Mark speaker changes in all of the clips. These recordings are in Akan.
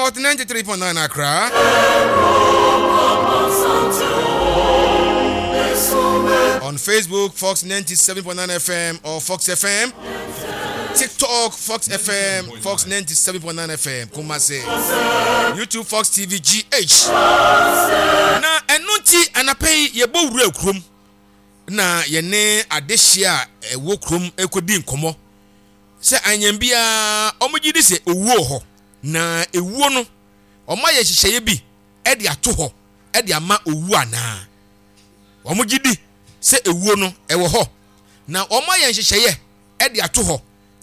Speaker 1: Hot 93.9 Accra. On Facebook, Fox 97.9 FM or Fox FM. TikTok, Fox FM, Fox 97.9 FM, Kumasi. YouTube, Fox TV GH. Na ɛno nti anapa yi yɛbɔ wura kurom na yɛne adehyeɛ a ɛwɔ kurom ɛkɔdi nkɔmmɔ sɛ anyɛ biara wɔgye di sɛ owuo wɔ hɔ na ewuo no wɔayɛ nhyehyɛeɛ bi de ato hɔ de ama owuo anaa? Wɔgye di sɛ ewuo no ɛwɔ hɔ na wɔayɛ nhyehyɛeɛ de ato hɔ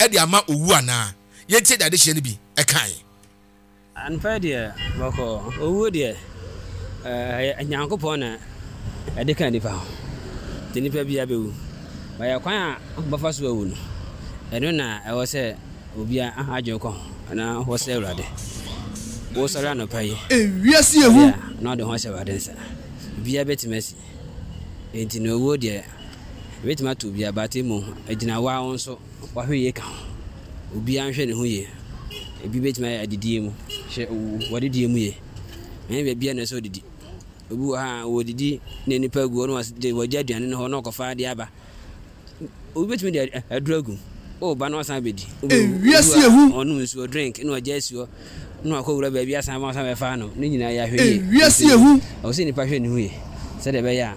Speaker 1: de ama owuo anaa? Yɛntie deɛ adehyeɛ no bi kaeɛ.
Speaker 2: Anɔpa yi deɛ bɔkɔɔ. Owuo deɛ, ɛyɛ Nyankopɔn na ɛde ka nipa ho. Nti nipa biara bɛwu. But kwan a wobɛfa so awu no, ɛno na ɛwɔ sɛ obiara adwene kɔ ho na wɔsrɛ Awurade. Wosɔre anɔpa yi,
Speaker 3: Ewiase ehu.
Speaker 2: ɔyɛ a na wode ho ahyɛ Awurade nsa. Biribiara bɛtumi asi. Nti no owuo deɛ, ɛbɛtumi ato obiara but mmom ɛgyina wo ara wo nso. W'ahwɛyie ka ho. Obiara nhwɛ ne ho yie. Ebi bɛtumi ayɛ adidie mu. Hwɛ w'adidie mu yie. Ɛnyɛ baabiara na ɛsɛ odidi. Obi wɔ ha a wɔdidi na nnipa agu hɔ na wɔagya aduane no hɔ na ɔkɔfa adeɛ aba. Obi bɛtumi de aduro agu. O ba na wasan abɛdi.
Speaker 3: Ewiase ehu.
Speaker 2: Ɔnom nsuo drink na wagya asi hɔ na wakɔ wura baabi asan ama wasan bɛfa anom. Ne nyinaa yɛ ahwɛyie.
Speaker 3: Ewiase ehu.
Speaker 2: Ɛwɔ sɛ nipa hwɛ ne ho yie sɛdeɛ ɛbɛyɛ a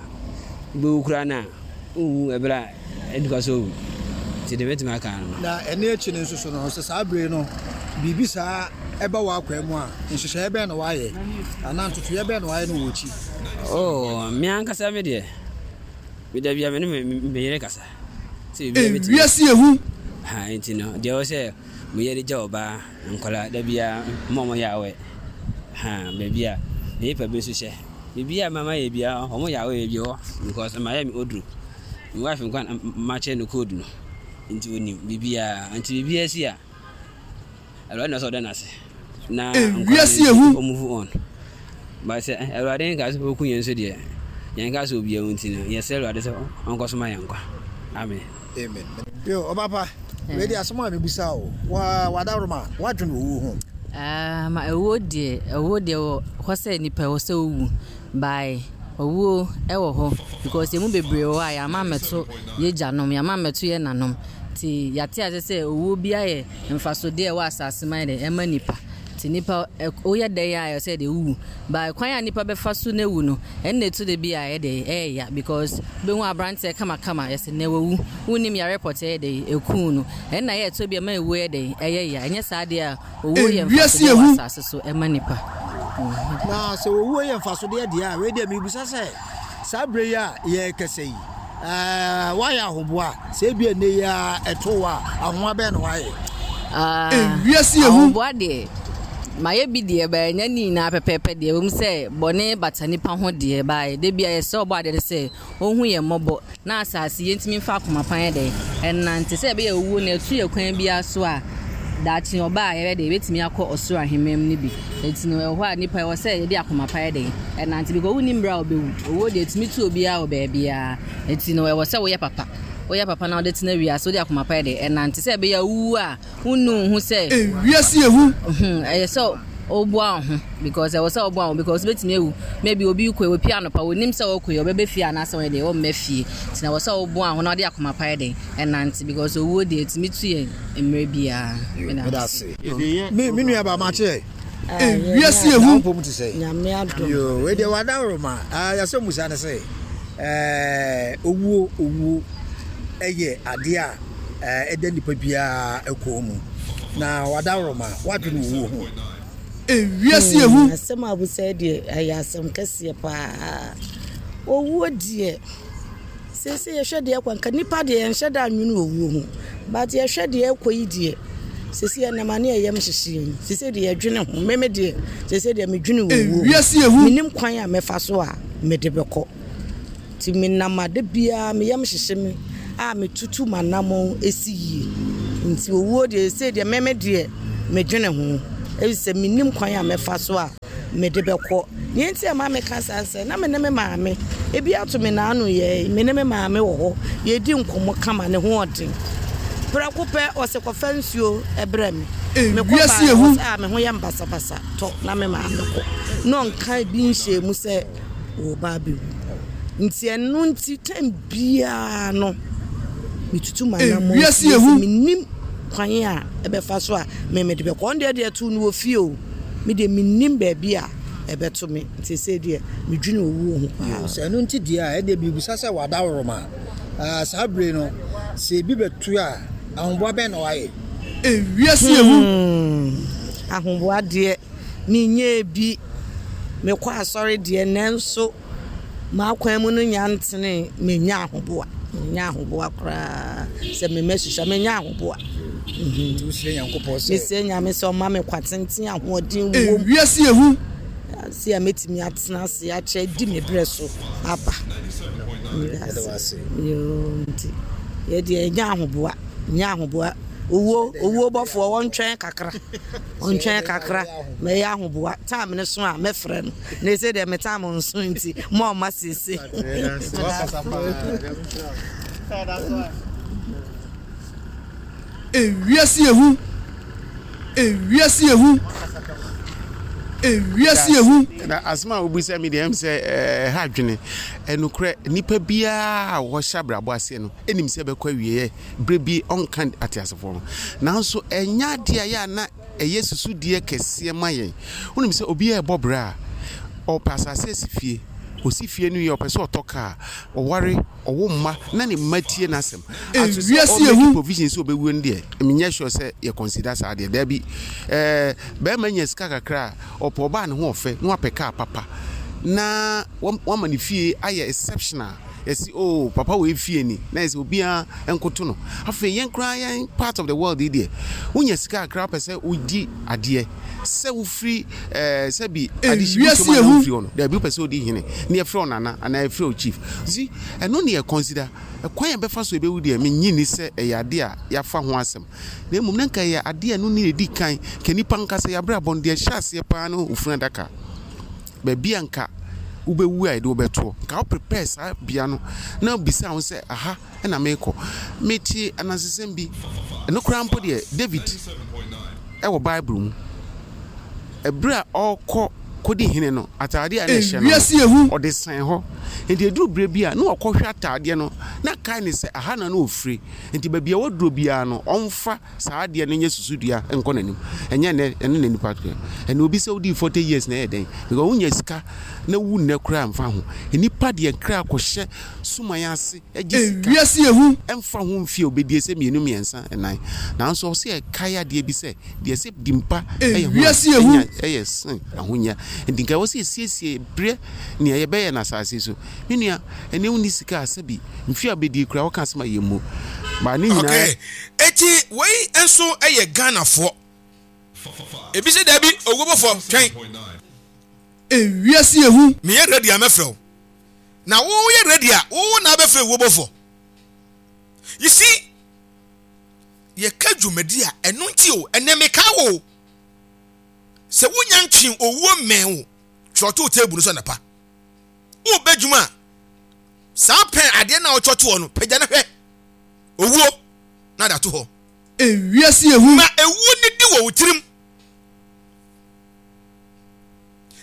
Speaker 2: wobɛwu koraa no a wonwu ɛberɛ a Ɛnni kwa sɛ owu. Nti deɛ mɛtumi aka ara no.
Speaker 4: Na ɛno akyi no nso so no, sɛ saa bere no biribi saa ba w'akwan mu a, nhyehyɛe bɛn na woayɛ anaa ntotoeɛ bɛn na woayɛ no wɔ akyi?
Speaker 2: Oh, me ankasa me deɛ, me da biara me ne me yere kasa. Sɛ biribiara bɛtumi.
Speaker 3: Ewiase ehu.
Speaker 2: Ha, nti no, deɛ ɛwɔ sɛ meyɛ de gya ɔbaa, nkwadaa, da biara, mma wɔn yɛ awɛ. Ha, baabi a me paper bi nso hyɛ. Biribiara a mama yɛ biara, wɔn yɛ awɛ baabi hɔ because mayɛ me oduro. Me wife nkwa na makyerɛ no code no nti onim biribiara nti biribiara si a Awurade na ɔsɛ ɔda n'ase na nkwa no nti ɔmove on but sɛ Awurade nka sɛ ɔku yɛn nso deɛ yɛn nka sɛ obiara nti no yɛsrɛ Awurade sɛ ɔnkɔ so ma yɛn nkwa amen.
Speaker 4: Amen. Yo, ɔba pa, wei deɛ asɛm a mebisa o, wa wadaworoma, woadwene owuo ho?
Speaker 5: Ah, ma owuo deɛ, owuo deɛ wɔ hɔ sɛ nipa ɛwɔ sɛ owu. By owuo wɔ hɔ because yɛn mu bebree wɔ hɔ a yɛama ammɛto yɛn agyanom, yɛama ammɛto yɛn nanom. Nti yɛate ase sɛ owuo biara yɛ mfasodeɛ a ɛwɔ asase ma yɛ dɛ ɛma nipa. Nti nipa woyɛ dɛn a ɛwɔ sɛ deɛ wowu. By kwan a nipa bɛfa so na awu no, ɛno na ɛtu da bi a ɛyɛ dɛ ɛyɛ ya because wobɛhu aberanteɛ kamakama yɛsɛ nɛ wawu. Wonnim yare pɔtee ɛyɛ dɛ ɛkuu no. Ɛno na ɛyɛ ɛtɔ bi a ɛma ewuo yɛ dɛn ɛyɛ ya. Ɛnyɛ saa deɛ a Owuo yɛ
Speaker 3: Ewiase
Speaker 5: mfasodeɛ wɔ
Speaker 3: ehu.
Speaker 5: asase so ma nnipa.
Speaker 4: Na sɛ owuo yɛ mfasodeɛ deɛ a, wei deɛ mebisa sɛ, saa berɛ yi a yɛrekasa yi, ɛɛ, woayɛ ahoboa? Sɛ ebia nnɛ yi ara ɛto wo a, ahoa bɛn na woayɛ?
Speaker 5: Ah,
Speaker 3: Ewiase ehu.
Speaker 5: ahoboa deɛ, mayɛ bi deɛ, but ɛnyɛ ne nyinaa pɛpɛɛpɛ deɛ. Ɛwom sɛ bɔne bata nnipa ho deɛ, but da biara yɛsrɛ Ɔbɔadeɛ no sɛ Ɔnhu yɛn mmɔbɔ na asase yi yɛntumi mfa akoma pa nyɛ dɛn nnante sɛ ɛbɛyɛ owuo no ɛto yɛn kwan biara so a daakye ɔba a yɛbɛ dɛn yɛbɛtumi akɔ ɔsoro ahemman mu no bi. Enti no ɛwɔ hɔ a nipa ɛwɔ sɛ yɛde akoma pa yɛ dɛn ɛnante because wonnim berɛ a wobɛwu. Owuo deɛ ɛtumi to obiara wɔ baabiara. Enti no ɛwɔ sɛ woyɛ papa. Woyɛ papa na wode tena wiase wode akoma pa yɛ dɛn ɛnante sɛ ɛbɛyɛ a wowu a wonnu wo ho sɛ.
Speaker 3: Ewiase yɛ hu.
Speaker 5: Ɛyɛ sɛ woboa wo ho because ɛwɔ sɛ woboa wo ho because wobɛtumi awu. Maybe obi kɔ yi, opie anɔpa, onim sɛ ɔkɔ yi, ɔbɛba fie anaasɛ ɔnyɛ dɛn, ɔmma fie. Nti na ɛwɔ sɛ woboa wo ho na wode akoma pa yɛ dɛn, ɛnante because owuo deɛ ɛtumi tu yɛn mmerɛ biara.
Speaker 4: Meda ase. Me me nua ba makye.
Speaker 3: Ewiase yɛ hu.
Speaker 4: Mpom te sɛ.
Speaker 6: Nyame adom.
Speaker 4: Yo, wei deɛ wadaworo ma. Ah, yɛsɛ musa ne sɛ. Eh, owuo owuo ɛyɛ adeɛ a ɛda nipa biara kɔn mu, na wadaworoma, woadwene owuo ho.
Speaker 3: Ewiase yɛ hu.
Speaker 6: Hmm, asɛm a abusa yi deɛ ɛyɛ asɛm kɛseɛ paa. Owuo deɛ, seesei yɛhwɛ deɛ ɛkɔ nka nipa deɛ yɛnhyɛ da nwene owuo ho. But yɛhwɛ deɛ ɛkɔ yi deɛ, seesei yɛnam a ne yɛyam hyehye yɛn. Seesei deɛ yɛdwene ho. Meme deɛ, seesei deɛ medwene owuo ho.
Speaker 3: Ewiase yɛ hu.
Speaker 6: Menim kwan a mɛfa so a mede bɛkɔ. Nti menam a da biara me yam hyehye me a metutu m'anammɔn si yie. Nti owuo deɛ seesei deɛ me me deɛ medwene ho efisɛ mennim kwan a mɛfa so a mede bɛkɔ. Nea nti a ɛma meka saa ne sɛ na me ne me maame, ebi ato me naano yɛɛ, me ne me maame wɔ hɔ yɛredi nkɔmmɔ kama ne ho ɔden. Prɛko pɛ ɔse kɔfa nsuo brɛ me. Mekɔ
Speaker 3: Ewiase
Speaker 6: baeɛ
Speaker 3: ehu.
Speaker 6: ɔse ah me ho yɛ me basabasa tɔ na me maame kɔ. Na ɔnka bi nhyɛɛ mu sɛ ɔreba abɛwu. Nti ɛno nti time biara no metutu m'anammɔn
Speaker 3: Ewiase
Speaker 6: sie sɛ
Speaker 3: ehu.
Speaker 6: mennim kwan a ɛbɛfa so a me mede bɛkɔ. Ɔno deɛ deɛ ɛtoo no wɔ fie o. Me deɛ mennim baabi a ɛbɛto me. Nti seesei deɛ medwene owuo ho paa.
Speaker 4: Sɛ ɛno nti deɛ a, ɛnneɛ mebisa sɛ w'adaworoma a, saa bere no, sɛ ebi bɛto a, ahoboa bɛn na wayɛ?
Speaker 3: Ewiase ehu.
Speaker 6: Hmm, ahoboa deɛ, menyɛɛ bi. Mekɔ asɔre deɛ, nanso m'akwan mu no nya ntenee. Mennya ahoboa. Mennya ahoboa koraa. Sɛ me mma susua, mennya ahoboa.
Speaker 4: Nti wosrɛ Nyankopɔn sɛ.
Speaker 6: Mesrɛ Nyame sɛ ɔmma me kwa tenten, ahoɔden wom.
Speaker 3: Ewiase ehu.
Speaker 6: Ase a mɛtumi atena ase akyɛ adi me berɛ so aba.
Speaker 4: Yɛda wo ase.
Speaker 6: Yoo, nti yɛ deɛ ɛnyɛ ahoboa, nyɛ ahoboa. Owuo, owuo bɔfoɔ wɔntwɛn kakra, wɔntwɛn kakra, mɛyɛ ahoboa. Time no so a mɛfrɛ no. Na ɛsɛ deɛ me time nso nti, mo a ɔma sese.
Speaker 3: Ewiase ehu, ewiase ehu, ewiase ehu.
Speaker 7: Na asɛm a wobisa mi deɛ ɛm sɛ ɛha adwene. Ɛnokorɛ, nnipa biara a wɔhyɛ abrabɔ aseɛ no nim sɛ ɛbɛkɔ awieɛ berɛ bi ɔnka ateasefoɔ ho. Nanso ɛnyɛ adeɛ a ɛyɛ a na ɛyɛ susudeɛ kɛseɛ ma yɛn. Wonim sɛ obi rebɔ bra a, ɔpɛ asase asi fie. Ɔsi fie no wie a, ɔpɛ sɛ ɔtɔ kaa, ɔware, ɔwo mma na ne mma tie n'asɛm. Aso sɛ
Speaker 3: Ewiase
Speaker 7: ɔ make
Speaker 3: ehu.
Speaker 7: provision sɛ ɔbɛwuo no deɛ, menyɛ sure sɛ yɛ consider saa deɛ. Daabi. Ɛɛ, barima nya sika kakra a, ɔpɛ ɔbaa ne ho ɔfɛ na wapɛ kaa papa na wama ne fie ayɛ exceptional. Yɛse oh, papa wei fie ni, na yɛsɛ obiara nkoto no. Afei yɛn koraa yɛn part of the world yi deɛ, wonya sika kakra wopɛ sɛ wodi adeɛ. Sɛ wofiri ɛɛ sɛbi adehye bi
Speaker 3: Ewiase
Speaker 7: som anaa
Speaker 3: ehu.
Speaker 7: wofiri hɔ no, daabi wopɛ sɛ wodi hene na yɛfrɛ wo nana anaa yɛfrɛ wo chief. You see, ɛno ne yɛ consider. Ɛkwan a yɛbɛfa so yɛbɛwu deɛ, mennye nni sɛ ɛyɛ adeɛ a yɛafa ho asɛm. Na mmom na nka ɛyɛ adeɛ a ɛno ne ɛdi kan. Nka nnipa ankasa yɛn abrabɔ no, deɛ ɛhyɛ aseɛ paa ne ofunu adaka. Baabi a nka wobɛwu a yɛde wo bɛtoɔ. Nka wo prepare saa bea no na wobisa wo ho sɛ aha na merekɔ. Mete anansesɛm bi, ɛno koraa mpo deɛ David ɛwɔ Bible mu. Ɛberɛ a ɔrekɔ kɔdi hene no, ataadeɛ a na ɛhyɛ no
Speaker 3: Ewiase ehu.
Speaker 7: no, ɔde sɛn hɔ. Nti ɛduru berɛ bi a na ɔkɔhwɛ ataadeɛ no na kae ne sɛ aha na na ɔfiri. Nti baabi a waduro biara no, ɔmfa saa adeɛ no nyɛ susudua nkɔ n'anim. Ɛnyɛ nnɛ, ɛno na nipa yɛ. Ɛnna obi sɛ wodii 40 years na ɛyɛ dɛn? Because wonya sika na wu nnɛ koraa mfa ho. Nnipa deɛ kra kɔhyɛ suman ase gye sika.
Speaker 3: Ewiase ehu.
Speaker 7: Ɛmfa ho mfie a obedie sɛ mmienu, mmiɛnsa, nnan. Nanso ɔsɛ yɛkae adeɛ bi sɛ, deɛ ɛsɛ di mpa yɛ ho a
Speaker 3: Ewiase ehu.
Speaker 7: enya yɛ sen ahonya. Nti nka ɛwɔ sɛ yɛsiesie berɛ nea yɛbɛyɛ no asase so. Me nua, ɛnɛ wonni sika a sɛbi mfie a wobɛdie koraa woka asɛm a yɛmmu. But ne nyinaa.
Speaker 1: Okay, eti wei nso yɛ Ghanafoɔ. Ebi sɛ daabi, owuobofoɔ, twɛn.
Speaker 3: Ewiase ehu.
Speaker 1: Meyɛ ready a mɛfrɛ wo. Na wo yɛ ready a, wo na abɛfrɛ owuobofoɔ. You see, yɛka dwumadi a, ɛno nti o, ɛnɛ meka wo o. Sɛ wonya ntwe owuo mmɛn wo, twerɛ to table no so anapa. Wobɛ dwuma a, saa pɛn adeɛ no a wotwerɛ to hɔ no, pagya no hwɛ owuo na de ato hɔ.
Speaker 3: Ewiase ehu.
Speaker 1: Ma ewuo nidi wɔ wo tirim.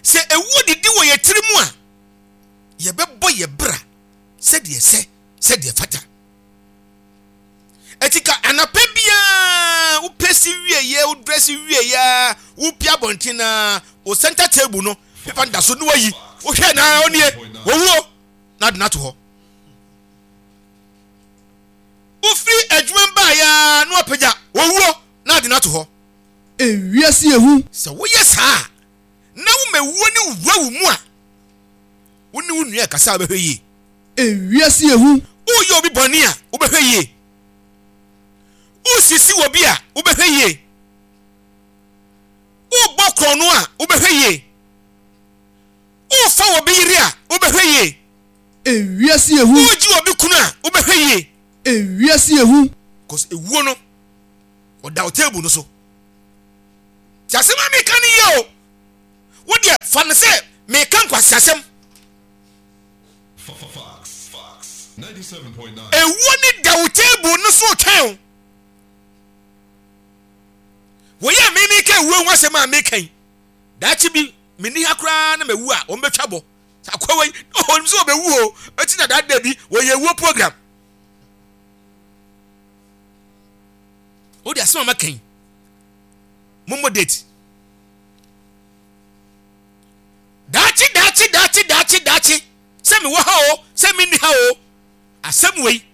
Speaker 1: Sɛ ewuo didi wɔ yɛ tirim a, yɛbɛbɔ yɛ bra sɛdeɛ ɛsɛ, sɛdeɛ ɛfata. Eti ka anapa biara wopɛ si wieɛ, wodrɛsi wieɛ a, wopie abɔnten na wo center table no, pepa no da so ne wayi. Wohwɛ na ɔnie, wɔwuo na ade no ato hɔ. Wofiri adwuma mu baeɛ a na wapagya wɔwuo na ade no ato hɔ.
Speaker 3: Ewiase ehu.
Speaker 1: Sɛ woyɛ saa a, na woma wuo no wura wo mu a, wo ne wo nua rekasa a wobɛhwɛ yie.
Speaker 3: Ewiase ehu.
Speaker 1: Woreyɛ obi bɔne a, wobɛhwɛ yie. Woresisi obi a, wobɛhwɛ yie. Worebɔ korɔno a, wobɛhwɛ yie. Worefa obi yere a, wobɛhwɛ yie.
Speaker 3: Ewiase ehu.
Speaker 1: Woregye obi kunu a, wobɛhwɛ yie.
Speaker 3: Ewiase ehu.
Speaker 1: Cause ewuo no, ɔda wo table no so. Ti asɛm a meka no yie o. Wo deɛ fa no sɛ meka nkwaseasɛm. Ewuo no da wo table no so retwɛn wo. Wei a me meka awuo ho asɛm a meka yi, daakye bi menni ha koraa na mawu a, wɔbɛtwa bɔ. Sɛ akoa yi, ɔnim sɛ ɔbɛwu o, ɛti na daa da bi wɔyɛ awuo program. Wode asɛm a maka yi, mommɔ date. Daakye, daakye, daakye, daakye, daakye, sɛ mewɔ ha o, sɛ menni ha o, asɛm wei,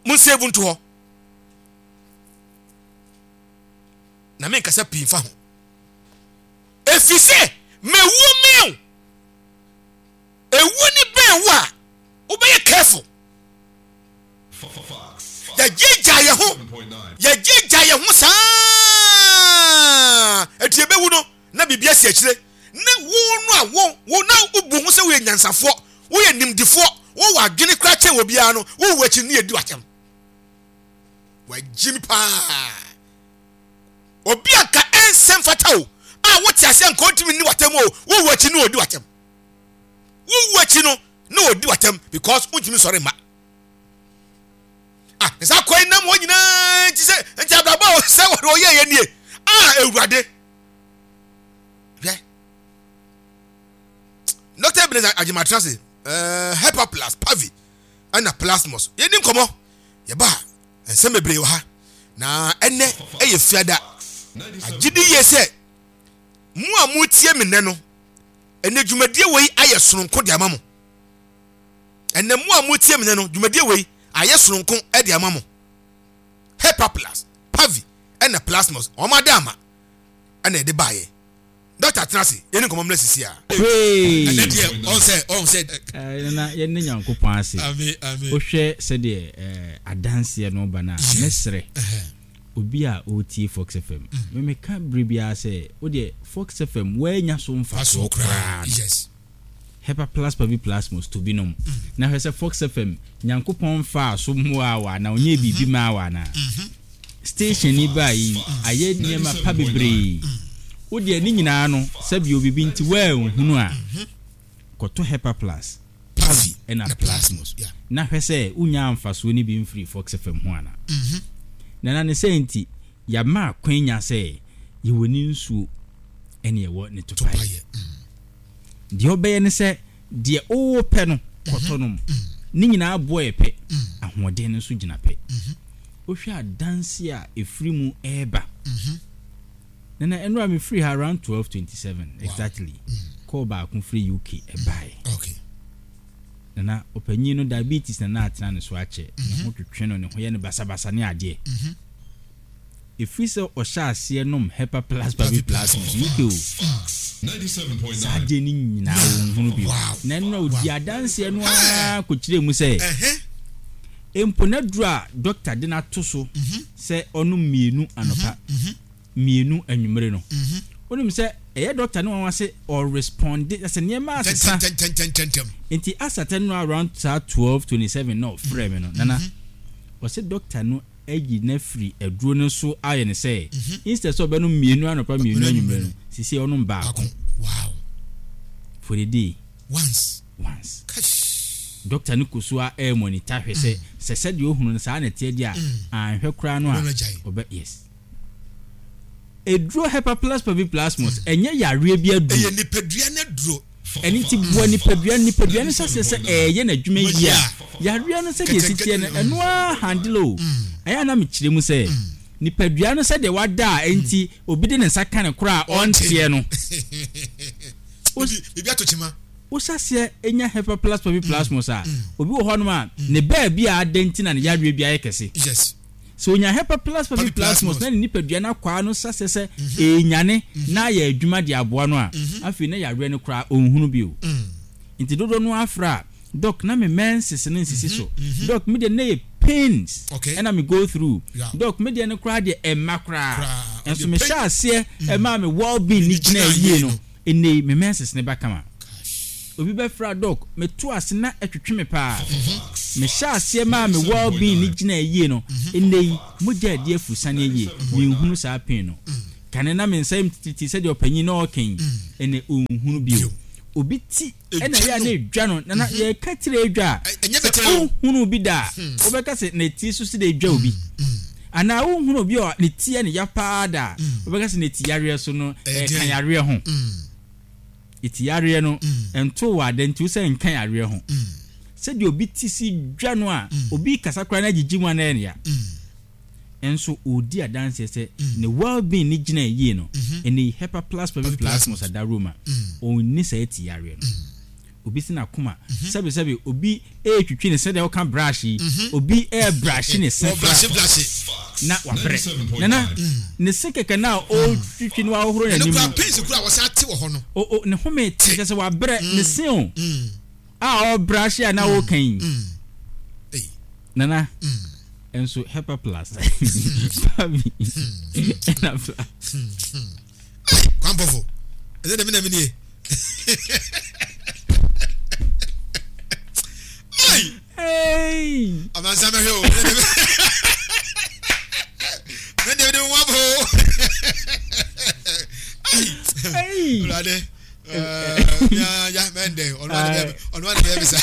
Speaker 1: monsave nto hɔ. Na menkasa pii mfa ho. Ɛfiri sɛ mewuo mmɛn wo. Ewuo ni bɛn wo a, wobɛyɛ careful. Yɛgyaagyaa yɛn ho, yɛgyaagyaa yɛn ho saa, eti yɛbɛwu no na biribi asi akyire. Ne wo no a wo wo na wobu ho sɛ woyɛ nyansafoɔ, woyɛ nimdefoɔ, wowɔ adwene koraa kyɛn obiara no, wowu akyi no ne yɛdi w'atɛm. Wagyimi paa. Obi a nka ɛnsɛ mfata o, a wote aseɛ nka ɔntumi nni w'atɛm o, wowu akyi no ɔdi w'atɛm. Wowu akyi no na ɔdi w'atɛm because wontumi nsɔre mma. Ah, ne saa kwan nam hɔ nyinaa nti sɛ nti abrabɔ a sɛ wɔde ɔyɛ yɛ nie. Ah, Awurade. Hwɛ. Dr. Ebenezer Agyematena se, uh, Hepaplas, Pavi, ɛna Plasmos. Yɛdi nkɔmmɔ. Yɛba a, nsɛm bebree wɔ ha. Na ɛnɛ ɛyɛ fiada. Agye di yie sɛ mo a motie me nnɛ no, ɛnɛ dwumadie wei ayɛ sononko de ama mo. Ɛnɛ mo a motie me nnɛ no, dwumadie wei ayɛ sononko de ama mo. Hepaplas, Pavi, ɛna Plasmos, wɔn ada ama ɛna ɛde baayɛ. Doctor tena ase, yɛni nkɔmmɔ mmra sisi a.
Speaker 8: Hwee.
Speaker 1: Ɛnɛ deɛ ɔn sɛ ɔn sɛ.
Speaker 8: Ɛɛ nana yɛn ne Nyankopɔn ase.
Speaker 1: Amen amen.
Speaker 8: Wohwɛ sɛdeɛ ɛɛ adanseɛ no ba no a, mɛsrɛ obi a ɔretie Fox FM. Me meka bere biara sɛ wodeɛ Fox FM woannya so mfasoɔ koraa no.
Speaker 1: Yes.
Speaker 8: Hepa plus pavi plasmos to bi nom. Na hwɛ sɛ Fox FM Nyankopɔn mfaa so mmoaa wo anaa ɔnyɛɛ biribi maa wo anaa. Station yi baa yi ayɛ nneɛma pa bebree. Wo deɛ ne nyinaa no sɛbio biribi nti woanhunu a, kɔtɔ Hepa plus, Pavi ɛna Plasmos na hwɛ sɛ wonyaa mfasoɔ no bi mfirii Fox FM ho anaa. Nana ne sɛ nti yɛama akwanya sɛ yɛwɔ ne nsuo ɛne ɛwɔ ne topaeɛ. Deɛ wobɛyɛ ne sɛ deɛ wopɛ no kɔtɔ nom. Ne nyinaa boɔ yɛ pɛ, ahoɔden no nso gyina pɛ. Wohwɛ adanse a ɛfiri mu reba. Nana, ɛnora mefiri ha around 12:27 exactly. Call baako firi UK ɛbaeɛ.
Speaker 1: Okay.
Speaker 8: Nana, ɔpanyin no diabetes na na atena ne so akyɛ. Ne ho twetwe no, ne ho yɛ no basabasa ne adeɛ. Ɛfiri sɛ ɔhyɛ aseɛ nom Hepa Plus Pavi Plus no so, UK o, saa adeɛ no nyinaa ɔnhunu bio. Na ɛno na ɔdi adanseɛ no ara kɔkyerɛɛ mu sɛ, mpo n'aduro a dɔkta de no ato so sɛ ɔnom mmienu anɔpa, mmienu anwummere no, wonim sɛ ɛyɛ dɔkta no nwanwa sɛ ɔresponde, sɛ nneɛma asesa. Nti asatɛ no around saa 12:27 na ɔfrɛɛ me no, Nana, ɔse dɔkta no ayi no afiri aduro no so ayɛ no sɛ instead sɛ ɔbɛnom mmienu anɔpa mmienu anwummerɛ no sisi ɔnom baako for the day
Speaker 1: once
Speaker 8: once doctor no kɔ so a ɛyɛ monitor hwɛ sɛ sɛ sɛdeɛ ohunu no saa na ɛteɛ deɛ a anhwɛ koraa no a ɔbɛ yes Eduro Hepaplus Paviplasmus ɛnyɛ yareɛ bi aduro.
Speaker 1: Ɛyɛ nipadua no aduro.
Speaker 8: Ɛno nti boa nipadua no, nipadua no hyɛ aseɛ sɛ ɛreyɛ n'adwuma yie a, yareɛ no sɛdeɛ ɛsi teɛ no, ɛno ara handle o. Ɛyɛ a na mekyerɛ mu sɛ, nipadua no sɛdeɛ wada a ɛnti obi de ne nsa ka no koraa a ɔnteɛ no,
Speaker 1: Biribi ato kyema.
Speaker 8: Wohyɛ aseɛ nya Hepaplus Paviplasmus a, obi wɔ hɔnom a, ne baabi a ada nti na ne yareɛ bi ayɛ kɛse.
Speaker 1: Yes.
Speaker 8: Sɛ onya hepaplasma bi plasmos na ne nipadua no akwaa no hyɛ aseɛ sɛ ɛrenyane na ayɛ adwuma de aboa no a, afei na yareɛ no koraa ɔnhunu bio. Nti dodoɔ no ara frɛ a, Doc na me menses no nsisi so, Doc me deɛ no na ɛyɛ pains ɛna me go through, Doc me deɛ no koraa deɛ ɛmma koraa. Nso mehyɛɛ aseɛ ɛmaa me well being no gyinaa yie no, Ɛnnɛ yi, me menses no ba kama. Obi bɛfra Doc, meto ase na ɛtwetwe me paa. Mehyɛɛ aseɛ maa me well being no gyinaa yie no, ɛnnɛ yi, mogya adi afurusane ayie, menhunu saa pain no. Kane na me nsa yam titiritii sɛdeɛ ɔpanyin na ɔreka yi, ɛnnɛ ɔnhunu bio. Obi ti na ɛyɛ a na ɛdwa no, na na yɛreka tiri adwa a, sɛ wonhunuu bi da a, wobɛka sɛ na tiri so sɛ ɛdwa obi. Anaa wonhunu obi a ne ti yɛ no ya paa da a, wobɛka sɛ ne ti yareɛ so no, ɛka yareɛ ho. Ti yareɛ no, ɛntoo wo ada nti wo sɛ nka yareɛ ho. Sɛdeɛ obi ti si dwa no a, obi rekasa koraa na agyigye mu a na ɛyɛ no ya. Nso ɔredi adanseɛ sɛ ne well being no gyina yie no, ɛnɛ yi Hepa Plus Pavi Plasmos Adaroma, ɔnni saa ti yareɛ no. Obi se n'akoma, sɛbe sɛbe obi retwitwi ne se sɛdeɛ woka brush yi, obi rebrushe ne se koraa na wabrɛ. Nana, ne se kɛkɛ no a ɔretwitwi na wahohoro n'anim no, o o ne home te kyerɛ sɛ wabrɛ ne se o a ɔrebrushe a na ɔreka yi. Nana, nso Hepa Plus, Pavi, ɛna Plus.
Speaker 1: Kwampɔfo, ɛsɛ dɛm na menie.
Speaker 8: Hey!
Speaker 1: Amansa mɛhwɛ o. Mɛdeɛ mede wo abo.
Speaker 8: Hey!
Speaker 1: Awurade. Ya mɛndɛ ɔno ade bɛyɛ bisa.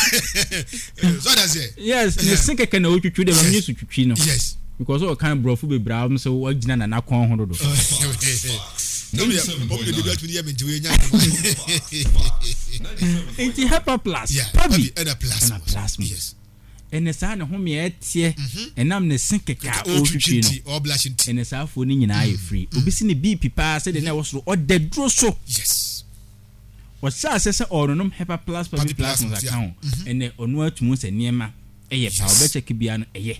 Speaker 1: So that's it.
Speaker 8: Yes, ne se kɛkɛ na otwitwi dɛ mame so twitwi no.
Speaker 1: Yes.
Speaker 8: Because ɔkan borɔfo bebree a wɔn sɛ wagyina nana kɔn ho dodo. Nti Hepa Plus, Pabi
Speaker 1: ɛna
Speaker 8: Plasmos.
Speaker 1: Yes.
Speaker 8: Ɛnɛ saa ne home a ɛteɛ ɛnam ne se kɛkɛ a ɔretwitwi no. Ɛnɛ saa afoɔ no nyinaa yɛ free. Obi si ne BP paa sɛdeɛ na ɛwɔ soro ɔda duro so.
Speaker 1: Yes.
Speaker 8: Ɔhyɛ aseɛ sɛ ɔrenonom Hepa Plus Pabi Plasmos aka ho. Ɛnɛ ɔno atumi sɛ nneɛma ɛyɛ paa ɔbɛkyɛke biara no ɛyɛ.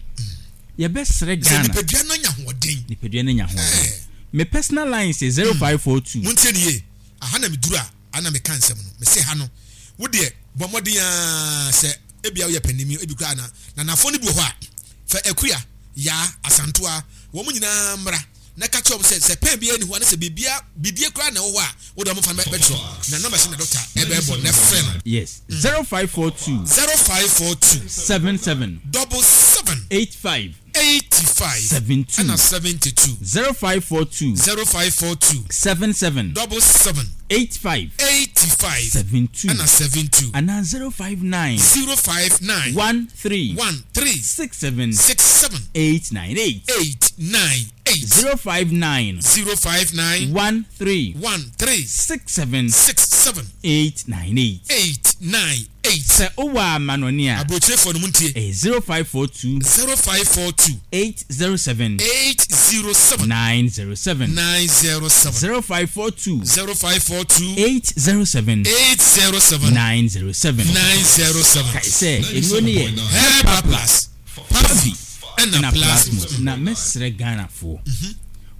Speaker 8: Yɛbɛsrɛ Ghana.
Speaker 1: Nipadua no anya ahoɔden.
Speaker 8: Nipadua no anya ahoɔden. Me personal line sɛ 0542.
Speaker 1: Montie no yie. Aha na meduru a, aha na meka nsɛm no. Mese ha no, wo deɛ bɔ mmɔden ara sɛ ebia woyɛ panin, ebi koraa na nanafoɔ no bi wɔ hɔ a, fa Akua, Yaa, Asantoa, wɔn nyinaa mmra na ka kyerɛ wɔn sɛ, sɛ pɛn biara nni hɔ anasɛ biribiara, bidie koraa na ɛwɔ hɔ a, wo deɛ wɔmfa no bɛtwerɛ. Na numbers no na dɔkta ɛbɛbɔ na frɛ no.
Speaker 8: Yes, 0542.
Speaker 1: 0542.
Speaker 8: 77.
Speaker 1: Double 7.
Speaker 8: 85.
Speaker 1: 85.
Speaker 8: 72.
Speaker 1: Ɛna 72.
Speaker 8: 0542.
Speaker 1: 0542.
Speaker 8: 77.
Speaker 1: Double 7.
Speaker 8: 85.
Speaker 1: 85.
Speaker 8: 72.
Speaker 1: Ɛna 72.
Speaker 8: Anaa 059.
Speaker 1: 059.
Speaker 8: 13.
Speaker 1: 13.
Speaker 8: 67.
Speaker 1: 67.
Speaker 8: 898.
Speaker 1: 898.
Speaker 8: 059.
Speaker 1: 059.
Speaker 8: 13.
Speaker 1: 13.
Speaker 8: 67.
Speaker 1: 67.
Speaker 8: 898.
Speaker 1: 898.
Speaker 8: Sɛ wowɔ amanɔne a.
Speaker 1: Aburokyerefoɔ no montie.
Speaker 8: Ɛyɛ 0542.
Speaker 1: 0542.
Speaker 8: 807.
Speaker 1: 807.
Speaker 8: 907.
Speaker 1: 907.
Speaker 8: 0542.
Speaker 1: 0542.
Speaker 8: 807.
Speaker 1: 807.
Speaker 8: 907.
Speaker 1: 907.
Speaker 8: Kae sɛ nnuro no yɛ.
Speaker 1: Hepa Plus, Pavi ɛna
Speaker 8: ɛna
Speaker 1: Plasmos.
Speaker 8: Plasmos. Na mɛsrɛ Ghanafoɔ.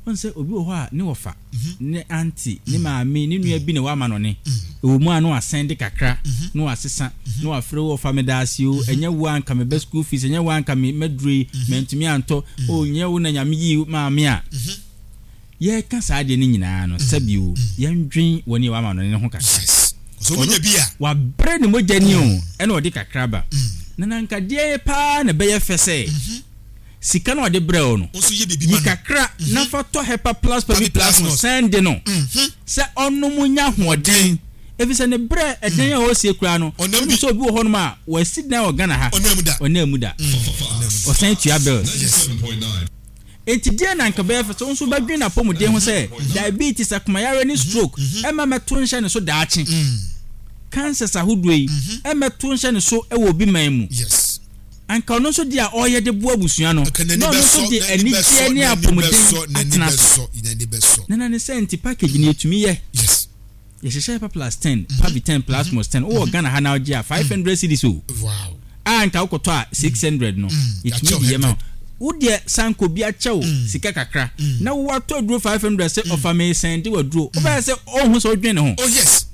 Speaker 8: Wohu sɛ obi wɔ hɔ a ne wɔfa. ne aunty, ne maame, ne nua bi na wama no ne. Ɛwɔ mu a na wasɛnde kakra, na wasesa, na wafrɛ wo ɔfa medaase o, ɛnyɛ wo a anka meba school fees, ɛnyɛ wo a anka me maduro yi, mantumi antɔ, o nyɛ wo na Nyame yii maame a. Yɛreka saa adeɛ no nyinaa no, sɛbi o, yɛndwen wɔn a wama no ne ho kakra.
Speaker 1: Yes. Sɛ ɔmo nya bi a.
Speaker 8: Wabrɛ ne mogya ni o, ɛna ɔde kakra ba. Na na anka deɛn paa na ɛbɛyɛ fɛ sɛ. Sika no a ɔde brɛɛ wo no, yi kakra na fa tɔ Hepa Plus Pavi Plus no san de no sɛ ɔnnom nya ahoɔden efisɛ ne brɛ ɛdan a ɔresie koraa no, wonim sɛ obi wɔ hɔnom a wasi dan wɔ Ghana ha, ɔnam mu da, ɔsan tua bills. Enti deɛn na anka ɛbɛyɛ fɛ sɛ wo nso wobɛdwene n'apɔmuden ho sɛ diabetes, akomayareɛ ne stroke mma mmɛto nhyɛ ne so daakye, cancers ahodoɔ yi mmɛto nhyɛ ne so wɔ obi man mu. Anka ɔno nso deɛ a ɔreyɛ de boa abusua no, na ɔno nso de anigyeɛ ne apɔmuden atena so. Nana ne sɛ nti package no yɛtumi yɛ. Yɛhyehyɛ Hepa plus 10, Pavi 10, Plasmos 10. Wowɔ Ghana ha na wogye a 500 cedis o. A anka wokɔtɔ a 600 no, yɛtumi de yɛ ma wo. Wo deɛ san kɔ bi akyɛ wo sika kakra na wo watɔ aduro 500 sɛ ɔfa mesɛnde w'aduro. Wobɛyɛ sɛ ɔnhu sɛ wodwen ne ho.
Speaker 1: Oh yes.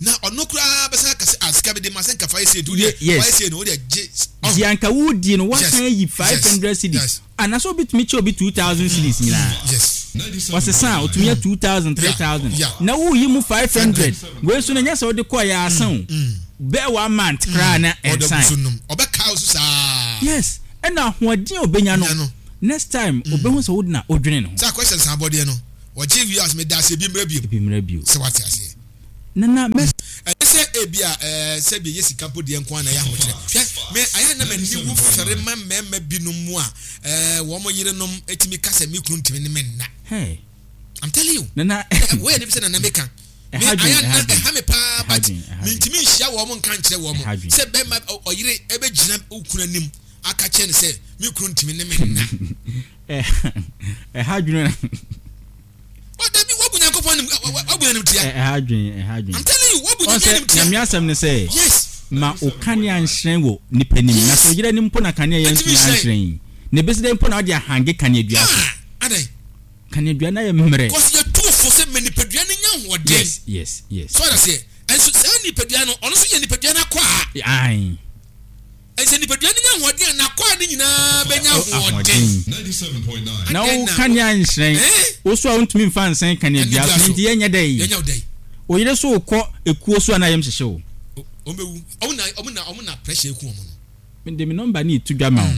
Speaker 1: Na ɔno koraa bɛsan aka sɛ, ah, sika bi de ma sɛ nka fa yɛ sei nti wodeɛ
Speaker 8: Yes.
Speaker 1: wayɛ sei no wodeɛ gye. Ɔho.
Speaker 8: Deɛ anka wodie no
Speaker 1: Yes.
Speaker 8: woasan ayi five
Speaker 1: Yes.
Speaker 8: hundred cedis
Speaker 1: Yes.
Speaker 8: anaasɛ obi tumi kyɛ obi 2000 cedis nyinaa.
Speaker 1: Yes.
Speaker 8: Ɔsesa a otumi yɛ 2000,
Speaker 1: Yeah.
Speaker 8: 3000
Speaker 1: Yeah.
Speaker 8: na woyi mu 500 wei nso no ɛnyɛ sɛ wode kɔɔ yɛ asa o bɛɛ one month koraa na
Speaker 1: Ɔda gu
Speaker 8: ɛnsan.
Speaker 1: so nom. Ɔbɛkaa wo so saa.
Speaker 8: Yes. Ɛna ahoɔden a obenya no
Speaker 1: Nya no.
Speaker 8: next time obehu sɛ wo na wodwene ne ho.
Speaker 1: Sɛ akɔhyɛ nsa abɔdeɛ no wɔgye wie a ɔsɛ meda ase ebi mmra bio.
Speaker 8: Ebi mmra bio.
Speaker 1: Sɛ wate aseɛ.
Speaker 8: Nana mɛ.
Speaker 1: Ɛnyɛ sɛ ebi a ɛɛ sɛbi ɛyɛ sika mpo deɛ nko ara na ɛyɛ ahokyerɛ. Hwɛ, me ayɛ na m'ani wu fɛre ma mmarima binom mu a ɛɛ wɔn yerenom etumi ka sɛ me kunu ntumi ne me nna.
Speaker 8: Hey.
Speaker 1: I'm telling you.
Speaker 8: Nana.
Speaker 1: Woyɛ ne bi sɛ nana meka. Me ayɛ na ɛha me paa but mentumi nhyia wɔn nka nkyerɛ wɔn sɛ bɛrima ɔyere ɛbɛgyina okunu anim aka kyerɛ no sɛ me kunu ntumi ne me nna.
Speaker 8: Ɛha dwene.
Speaker 1: Dabi wabu Nyankopɔn anim wabu anim tia.
Speaker 8: Ɛha dwene ɛha dwene.
Speaker 1: I'm telling you wabu Nyame anim tia.
Speaker 8: Nyame asɛm ne sɛ.
Speaker 1: Yes.
Speaker 8: Ma o kanea nhyerɛn wɔ nipa nim. Na sɛ ɔyere anim mpo na kanea yɛ ntumi anhyerɛn yi. Na ebesi dɛn mpo na ɔde ahange kaneadua so.
Speaker 1: Ah, adɛn.
Speaker 8: Kaneadua no ayɛ mmerɛ.
Speaker 1: Cause yɛ tu fo sɛ ma nipadua no nya ahoɔden.
Speaker 8: Yes.
Speaker 1: So ɔda seɛ. Ɛnso saa nipadua no ɔno nso yɛ nipadua no akwaa.
Speaker 8: Ae.
Speaker 1: Ɛsɛ nipadua no nya ahoɔden a, n'akwaa no nyinaa bɛnya ahoɔden.
Speaker 8: Na wo kanea nhyerɛn, wo so a wontumi mfa nsɛn kaneadua so no nti yɛnyɛ dɛn? Wo yere so rekɔ ekuo so a na yam hyehye wo.
Speaker 1: Wɔn bɛwu. Wɔn na wɔn na wɔn na pressure eku wɔn no.
Speaker 8: Mede me nɔmba no reto dwa ma wo.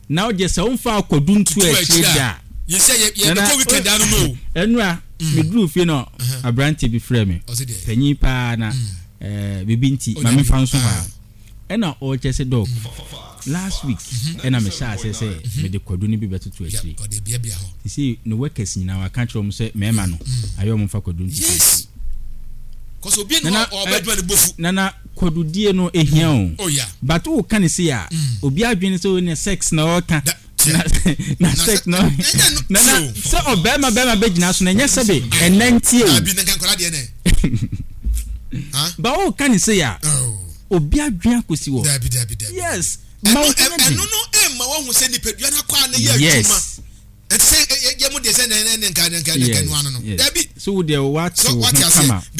Speaker 8: Na wo deɛ sɛ womfa akɔdu nto akyire da a.
Speaker 1: Yɛsɛ yɛ yɛbɛkɔ weekend ano no o.
Speaker 8: Ɛnura meduru fie na aberanteɛ bi frɛ me. Panyin paa na biribi nti ma memfa nso hɔ a. Ɛna ɔrekyɛ sɛ dɔk last week ɛna me hyɛ aseɛ sɛ mede kwadu no bi bɛtoto akyire sisi ne workers nyinaa waka kyerɛ wɔn sɛ mmarima no ayɛ wɔn mfa kwadu ntoto akyire.
Speaker 1: Nana
Speaker 8: nana kwadudie no ehia o
Speaker 1: oh,
Speaker 8: but o ka ne se a obi adwene sɛ o ne sex na ɔka na na sex na nana sɛ ɔbɛrima bɛrima bɛgyina so na ɛnyɛ sɛbe ɛnɛ ntie o ba o ka ne se a.
Speaker 1: Oh.
Speaker 8: Obi adwene akosi hɔ.
Speaker 1: Dabi dabi dabi.
Speaker 8: Yes. Ma wo ho nyɛ den.
Speaker 1: Ɛno no ɛmma wahu sɛ nipadua no akɔ a na yɛ adwuma.
Speaker 8: Yes.
Speaker 1: Ɛte sɛ yɛ mo deɛ sɛ na ɛne nka nka nka nua no no. Dabi.
Speaker 8: So wo deɛ wate wo ho kama.